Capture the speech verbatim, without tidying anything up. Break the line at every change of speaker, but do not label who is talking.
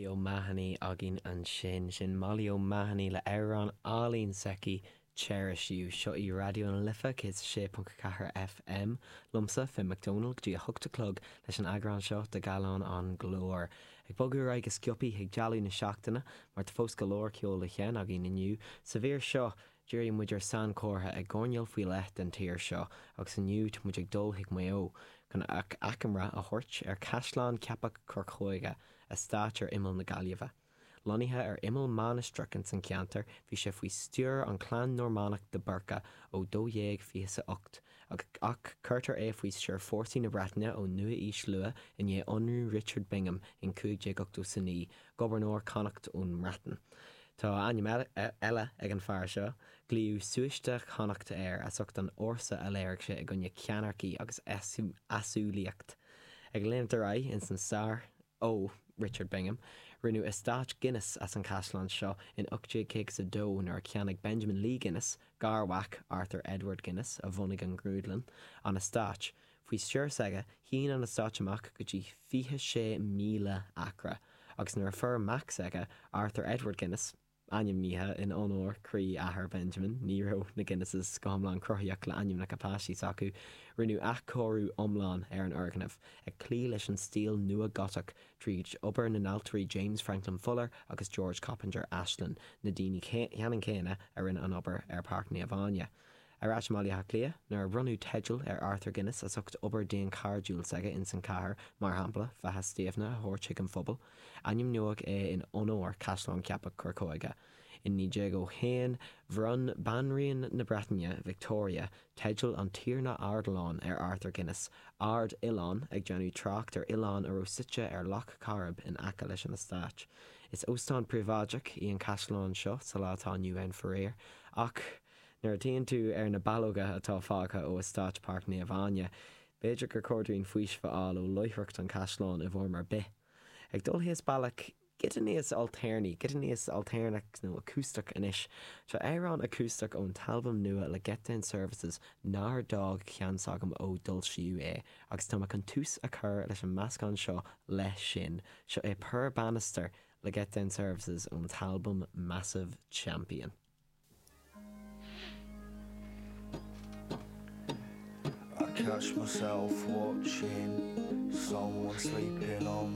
Molly O'Mahony againn ansin sin Molly O'Mahony le amhrán álainn s'aici Cherish You seo í Raidió na Life céad sé ponc ceathair FM liomsa Finn McDonald go dtí a hocht a chlog leis an eagrán seo de Gallán an Glór. Ag bogadh ar aghaidh go sciobtha ag dealú na seachtaine mar tá fós go leor ceol le chéin againn inniu sa mhír seo Díríonn muid ar sainchomhartha i gcoirnéal faoi leith den tír seo agus inniu tá muid ag dul chuig Maigh Eo chun achoimre a thabhairt ar Caisleán Cheapach Chorcóige eastát ar imeall na Gaillimhe. Lonnaithe ar imeall mainistreach ins an cheantar, bhí sé faoi stiúir an clann Normannach de Búrca ó dó dhéag fiche a hocht, ach cuirtear é faoi stiúir fórsaí na Breataine ón nua-aois luath i ndiaidh ionradh Richard Bingham in cúig déag ochtó is a naoi, Gobharnóir Chonnacht ón mBreatain. Tá ainm eile ag an fear seo, glaodh Súiste Chonnacht air as ucht an fhórsa a léirigh sé i gcoinne ceannaircí agus easumhlaíocht. Ag léimt ar aghaidh ins an stair ó Richard Bingham, rinneadh eastát Guinness as an chaisleán seo in ocht déag caoga is a dó nuair a cheannaigh Benjamin Lee Guinness, garmhac Arthur Edward Guinness a bhunaigh an ghrúdlann, an eastát. Faoi stiúir s'aige, shín an eastát amach go dtí fiche sé míle acra, agus nuair a fuair mac s'aige, Arthur Edward Guinness, ainmnithe in onóir croí-athair Benjamin, ní raibh na Guinnesses go hiomlán cruthaíoch le ainmneacha páistí s'acu, rinneadh athchóiriú iomlán ar an fhoirgneamh, ag cloí leis an stíl nua-Ghotach tríd obair na n-ailtirí James Franklin Fuller agus George Coppinger Ashland, na daoine ceannann céanna a rinne an obair ar Páirc Naomh Áine. Ar ais i mBaile Átha Cliath, nuair a bronnadh teideal ar Arthur Guinness as ucht obair daonchairdiúil s'aige ins an chathair, mar shampla, Faiche Stiabhna a thabhairt chuig an phobal, ainmníodh é in onóir Caisleán Cheapach Chorcóige. In naoi déag o haon, bhronn Banríon na Breataine, Victoria, teideal an Tiarna Ardoileáin ar Arthur Guinness, Ard Oileán, ag déanamh trácht ar oileán a raibh suite ar Loch Coirib in aice leis an eastát. Is óstán príobháideach í an caisleán seo sa lá atá inniu ann faraor, ach nuair a tchíonn tú ar na ballóga atá fágtha ó eastát Páirc Naomh Áine, b'fhéidir gur chóir dúinn faoiseamh a fháil ó láithreacht an chaisleáin i bhfoirm ar bith. Ag dul thíos bealach giota níos ailtéarnaí, giota níos ailtéarnach nó acústach anois. Tá amhrán acústach ón t-albam nua le Get Down Services nár d'fhág ceann s'agam ó d'fhoilsíodh é, agus tá mé chun tús a chur leis an meascán seo leis sin. Seo é Purr Bannister le Get Down Services ón t-albam Massive Champion.
I catch myself watching someone sleeping on